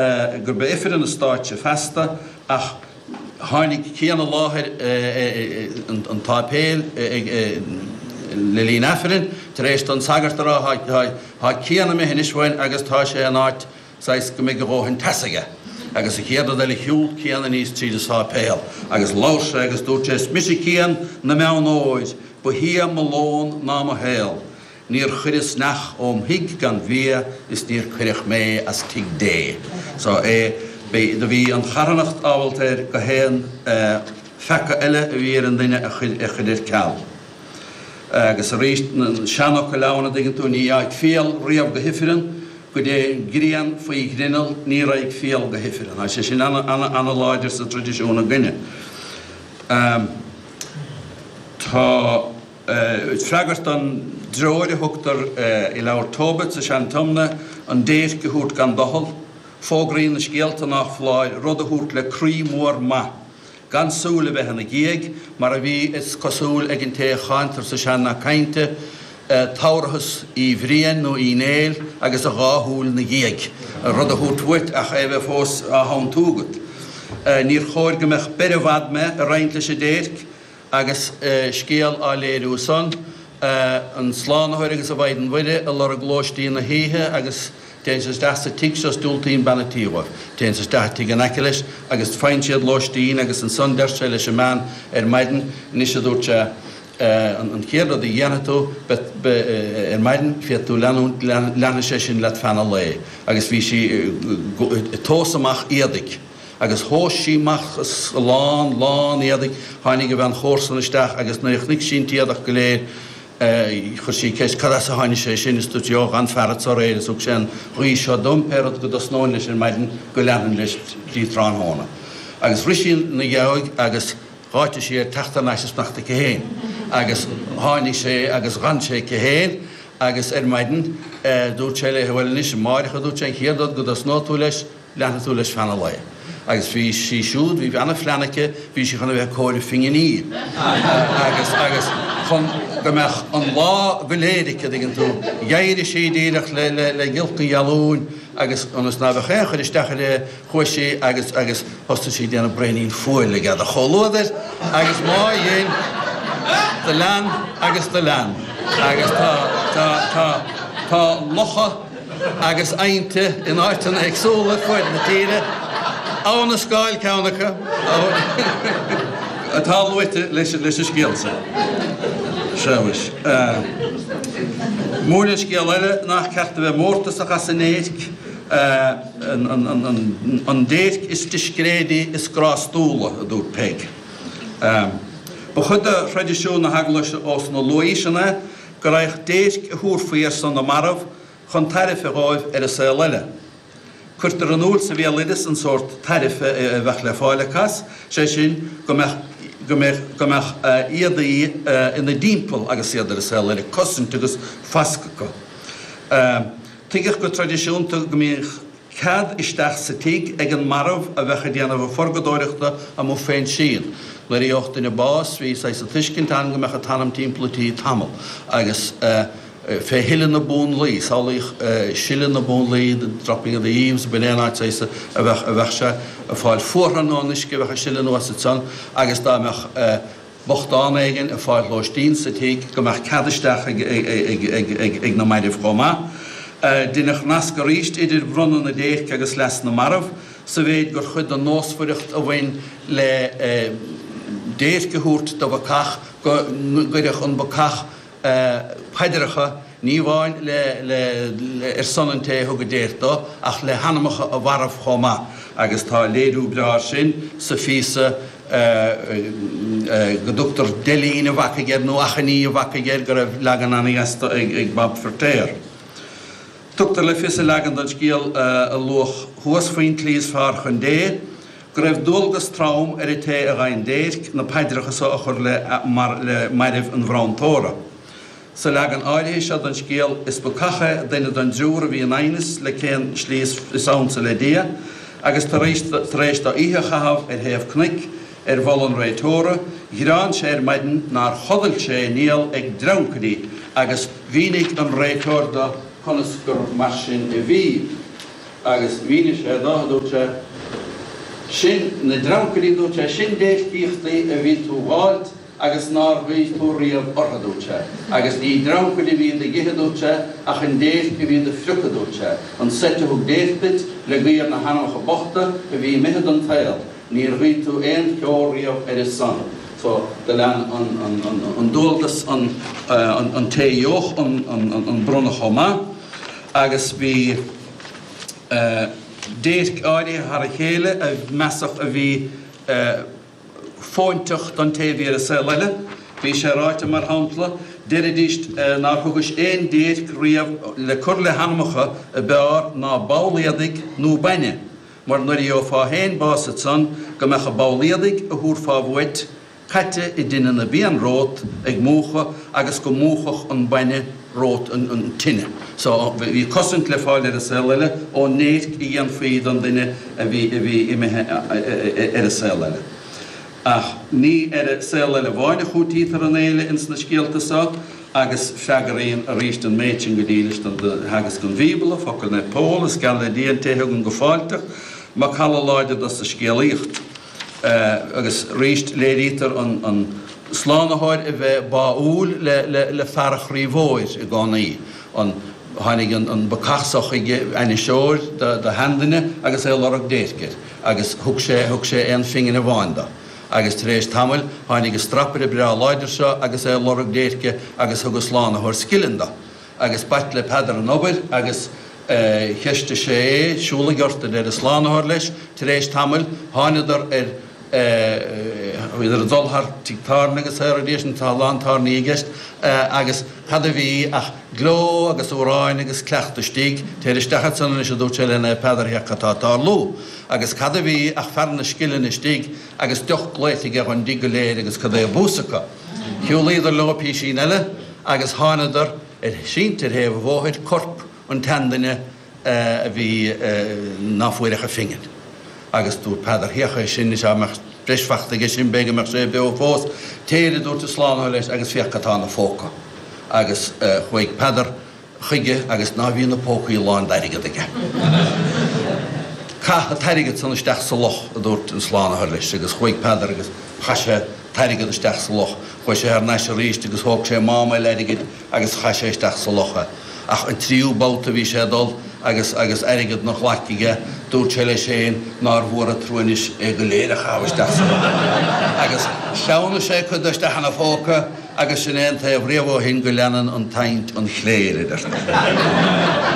Gurb é Ifreann an stáitse feasta ach tháinig Cian i láthair an tsáipéil le linn Aifrinn tar éis don sagart a rá tá Cian imithe anois uainn agus tá sé in áit saghas go mbeidh a dhóthain teasa aige. Agus an chéad rud eile shiúl Cian aníos tríd an sáipéal agus labhair sé agus dúirt sé Is mise Cian na mBeann Óir, ba shia mo lón ná mo shaol. Níor chuireas neach óm thigh gan bhia is níor cuireadh mé as tigh Dé. So é do bhí an charthanacht ábalta air go haon pheaca eile a bhí ar an duine a chur ar ceal. Agus arís an seanfhocal ann, a dtuigeann tú, ní dheaghaidh fial riamh go hifreann, go dté an ghrian faoi ghrinneall ní raghaidh fial go hifreann. Tá sé sin ana-láidir sa traidisiún againne. Tá. Freagairt don dtreoir a thugtar i Leabhar Tobit sa Sean-Tiomna, an déirc a thabhairt gan doicheall, fógraíonn na scéalta nách foláir rud a thabhairt le croí mór maith, gan súil a bheith ina dhiaidh, mar a bhí, is cosúil, ag an té a cháintear sa sean-nath cainte, Tabharthas Uí Bhriain nó Uí Néill agus a dhá shúil 'na dhiaidh, rud a thabhairt uait ach é a bheith fós á thiontú agat. Níor chóir go mbeadh beir i bhfad mé a roinnt leis an déirc, Agus scéal á léiriú san, an Slánaitheoir agus an Mhaighdean Mhuire ag lorg lóistín na hoíche agus téann siad isteach sa tigh seo is diúltaíonn bean an tí dhóibh. Téann siad isteach i tigh in aice leis agus faigheann siad lóistín agus ansan deir sé leis an mbean ar maidin, anois a dúirt sé, an chéad rud a dhéanfaidh tú ar maidin, féadfaidh tú leanúint, leanfaidh sé sin leat feadh an lae. Agus bhí sí ag tomhas amach éadaigh. Agus thomhais sí amach a lán, lán éadaigh. Tháinig a bhean chomharsan isteach agus nuair a chonaic sí an t-éadach go léir chuir sí ceist cad as a tháinig sé sin is dúirt sí, Ó, ghan fear anso aréir is thug sé an ghuí seo dom, pé rud go dtosnóinn leis ar maidin go leanfainn leis dtí tráthnóna. Agus rith sí 'na dheabhaidh agus dh'áitigh sí air teacht thar n-ais is fanacht aici féin. Agus tháinig sé agus dh'fhan sé aici féin agus ar maidin dúirt sé léi, Bhuel anois, amáireach a dúirt sé, an chéad rud go dtosnóidh tú leis, leanfaidh tú leis feadh an lae. Agus bhí sí siúd, bhí ana-phlean aici, bhí sí chun a bheith ag comhaireamh pinginí agus, agus chun go mbeadh an lá go léir aici, an dtuigeann tú. D'éirigh sí díreach le, le, le giolc an ghealúin agus ionas ná beadh aon chur isteach uirthi, chuaigh sí agus, agus thosnaigh sí ag déanamh braoinín fuail le geadach chomhluadair agus má dhein, do lean agus do lean agus tá, tá, tá, tá locha, agus aibhnte in áiteanna éagsúla ar fuaid na tíre, Abha na Scáil ceann acu, atá luaite leis an scéal seo. Sea mhuis. Múineann scéal eile nach ceart a bheith mórtasach as an ndéirc, an déirc is discréidí is grástúla, a dúirt Peig. Ba chuid de thraidisiún na hEaglaise ós na luath-aoiseanna é go raghadh déirc a thabharfaí ar son na marbh chun tairfe dhóibh ar an saol eile. Cuirtear in iúl sa bhéaloideas an sórt tairfe a bheadh le fáil acu as, sé sin, go mbeadh go mbeadh go mbeadh éadaí ina dtimpeall agus iad ar an saol eile, cosaint agus fasc acu. Tuigeadh go traidisiúnta go mbíodh cead isteach sa tigh ag an marbh a bheadh ag déanamh a phurgadóireachta amuigh fén síon. Nuair a gheobhadh duine bás bhí saghas tuiscint ann go mbeadh an t-anam timpeall an tí tamall agus fé shileadh na bpúnlaí, samhlaíodh sileadh na bpúnlaí, the dropping of the eaves, b'in é an áit saghas a bheadh a bheadh sé ag fáil fuartha nó an uisce a bheadh ag sileadh anuas ansan agus dá mbeadh bochtán éigin ag fáil lóistín sa tigh go mbeadh cead isteach ag na mairbh chomh maith. Deineadh nasc arís idir bronnadh na déirce agus leas na marbh, sa mhéid gur chuid den nósmhaireacht a bhain le déirc a thabhairt do bhacach go gcuirfeadh an bacach paidreacha, ní amháin le ar son an té a thug an déirc dó, ach le hanamacha a mharbh chomh maith, agus tá léiriú breá air sin sa phíosa go dtugtar Deilín an Bhacaigh air, nó Achainí an Bhacaigh air, go raibh leagan an-dheas de ag Bob Feirtéar. Tugtar le fios i leagan den scéal a luadh thuas faoin tslí is fearr chun Dé, go raibh dualgas trom ar an té a gheibheann déirc na paidreacha so a chur le mairbh an bhronntóra. Sa leagan áirithe seo den scéal, is bacach é duine den dtriúr a bhí in aighneas le cén slí is ansa le Dia, agus tar éis tar éis dó oíche a chaitheamh ar thaobh cnoic ar mholadh an réiteora, ghearán sé ar maidin nár chodail sé i ngiall ag dreancairí agus mhínigh an réiteoir do conas gur mar sin a bhí. Agus mhínigh sé do, a dúirt sé, sin na dreancairí, a dúirt sé, sin déircíochtaí a bhí tú dh'fháilt agus nár ghuigh tú riamh orthu, a dúirt sé, agus ní dreancaid a bhí ag ithe, a dúirt sé, ach an déirc a bhí do phriocadh, a dúirt sé, an seit a thug déirc duit le guí ar na hanamcha bochta a bhí imithe den tsaol, níor ghuigh tú aon cheo riamh ar a son. So, do lean an dualgas an té a gheobhadh an bronnadh chomh maith agus bhí déirc áirithe thar a chéile a measadh a bhí fóinteach don té a bhí ar an saol eile. Bhí sé ráite, mar shampla, deiridís nár thugais aon déirc riamh le cur le hanamacha ab fhearr ná ball éadaigh nó bainne, mar nuair a gheofá féin bás ansan go mbeadh an ball éadaigh a thabharfá uait caite i dtine na bpian romhat ag múchadh agus go múchfadh an bainne romhat an tine. So, bhí cosaint le fáil ar an saol eile ón ndéirc a dhéanfaí don duine a bhí, a bhí imithe ar an saol eile. Ach ní ar an saol eile amháin a chúitítear an fhéile ins na scéalta so agus freagraíonn arís an méid sin go dílis do theagasc an Bhíobla, focal Naomh Pól, is geall le Dia an té a thugann go fáilteach, macalla láidir dos an scéalaíocht. Agus arís léirítear an Slánaitheoir a bheith báúil le fear a chroí mhóir i gcónaí. Tháinig an bacach so chuige, ainniseoir do sheanduine agus é ag lorg déirce air, agus thug sé thug sé aon phingin amháin do. Agus tar éis tamaill tháinig an strapaire breá láidir seo agus é ag lorg déirce agus thug an Slánaitheoir scilling do. Agus b'ait le Peadar an obair agus cheistigh sé é, Siúlaigh ort, a deir an Slánaitheoir leis. Tar éis tamaill, thánadar ar, bhíodar ag dul thar tigh tábhairne agus ar sin, tá a lán tábhairní i gceist, agus cad a bhí ach gleo agus amhráin agus cleachtadh istigh. Téir isteach ansan anois, a dúirt sé le Naomh Peadar, féach cad tá ag tarlú. Agus cad a bhí ach fear na scillinge istigh agus deoch glaoite aige dhon dtigh go léir agus cad é a bús acu. Shiúlaíodar leo písín eile agus thánadar ar sínte ar thaobh an bhóthair, corp an tseanduine a bhí ná fuair ach a phingin. Agus dúirt Peadar, Féach é sin, is dá mbeadh breis fachta aige sin b'fhéidir go mbeadh sé beo fós. Téir, a dúirt an Slánaitheoir leis, agus féach cad tá ina phóca. Agus chuaigh Peadar chuige agus ná bhí na pócaí lán d'airgead aige. Caith an t-airgead san isteach sa loch, a dúirt an Slánaitheoir leis, agus chuaigh Peadar agus chaith sé t-airgead isteach sa loch. Chuaigh sé thar n-ais arís agus thóg sé mám eile airgid agus chaith sé isteach sa loch é. Ach an tríú babhta a bhí sé ag dul agus agus airgead 'na ghlaic aige, dúirt sé leis féin nár mhór an trua anois é go léir a chaitheamh isteach sa loch. Agus shleamhnaigh sé cuid de isteach ina phóca agus sin é an taobh riamh ó shin go leanann an tsaint an chléir, a deirtear.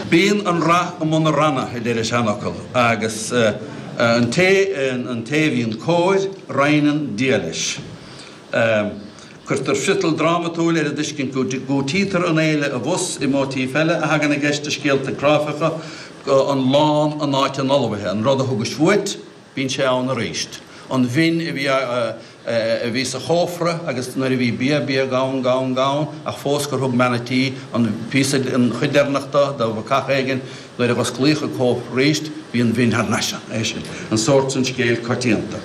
Bíonn an rath i mbun na ranna, a deir an seanfhocal, agus an té an té a bhíonn cóir, roinneann Dia leis. Cuirtear friotal drámatúil ar an dtuiscint go gcúitítear an fhéile abhus i móitíf eile a thagann i gceist i scéalta cráifeacha, an lán in áit an fholmhaithe, an rud a thugais uait, bíonn sé ann arís, an mhin a bhí a bhí sa chófra agus nuair a bhí bia, bia gann, gann, gann, ach fós gur thug bean a' tí an píosa, an chuid deireanach do, do bhacach éigin, nuair a dh'osclaíodh an cófra arís, bhí an mhin thar n-ais ann. É sin an sórt san scéil coitianta.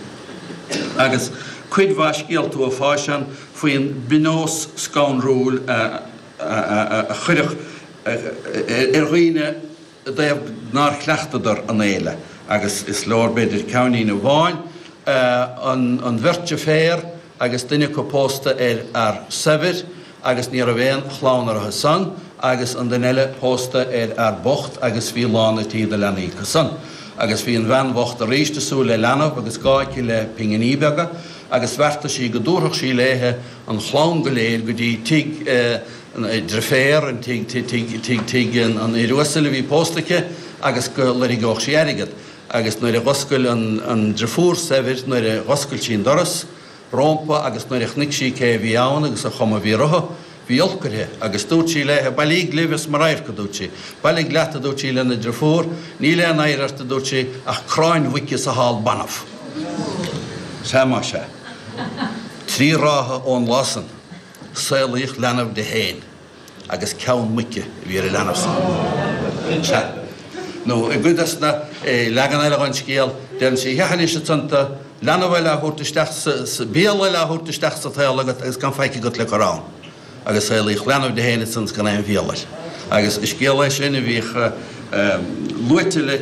Agus cuid mhaith scéalta uafáis ann faoin bpionós scanrúil a chuirfeadh ar dhaoine i dtaobh nár chleachtadar an fhéile, agus is leor b'fhéidir ceainnín amháin, an bheirt deirféar agus duine acu pósta ar fhear saibhir agus ní raibh aon chlann orthu san agus an duine eile pósta ar fhear bocht agus bhí lán a' tí de leanaí acu san. Agus bhí an bhean bhocht arís ag súil le leanbh agus gá aici le pinginí beaga agus bheartaigh sí go dtabharfadh sí léithe an chlann go léir go dtí tigh a deirféar, an tigh, tigh, tigh, tigh an fhir uasail a bhí pósta aici agus go loirgeodh sí airgead. Agus nuair a dh'oscail an driofúr saibhir, nuair a dh'oscail sí an doras rómpa agus nuair a chonaic sí cé a bhí ann agus an chuma a bhí orthu, bhí olc uirthi, agus dúirt sí léithe, Bailíg libh as mo radharc, a dúirt sí. Bailigh leat, a dúirt sí lena driofúr, níl aon oidhre ort, a dúirt sí, ach cráin mhuice is a hál banbh. Sea más ea. Trí ráithe ón lá san, saolaíodh leanbh di féin. agus ceann muice a bhí ar an leanbh san. Sea. Nó i gcuid des na leagan eile dhon scéal, deireann sí, Féach anois ansan tá leanbh eile á thabhairt isteach sa, béal eile á thabhairt isteach sa tsaol agat agus gan faic agat le cur ann. Agus saolaíodh leanbh di féin ansan is gan aon bhéal air. Agus is scéal é sin a bhíodh. luaite le.